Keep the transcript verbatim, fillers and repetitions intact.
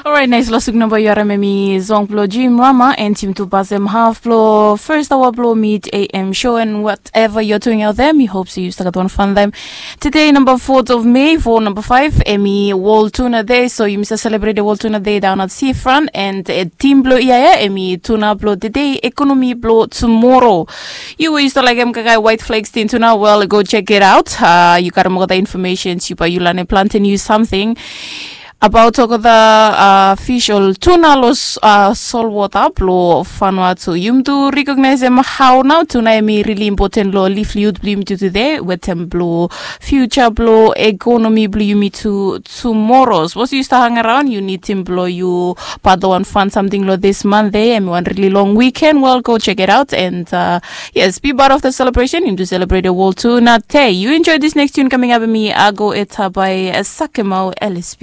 Orait, nais losuk namba yu harim em i song blo Jim Rama and Jim tu pasem half blo first hour blo mid A M show and whatever you're doing out there, mi hope se yu start wan fun time. Today number fourth of May for number five, em i World Tuna Day, so yumi sa celebrate World Tuna Day down at Seafront and uh, team blo iaia em i tuna blo today, economy blo tomorrow. Yu we yu start like em kakai white flags tin tuna, well, go check it out. Uh, yu got all the information, yu by yu lane plantain yu something. About tok the uh, fish ol tuna lo uh, solwota blo Vanuatu. Yum tu recognize em how now tuna em i really important lo livelihood blo yum tu today wetem blo future blo economy blo yumi tu tomorrow. Suppose yu start hang around, yu need tim blo yu pato wan fun something lo this Monday. Em i wan really long weekend. Well, go check it out and uh, yes, be part of the celebration. Yum tu celebrate a world tuna day. You enjoy this next tune coming up. Em i Ago Eta by uh, Sakemau L S B.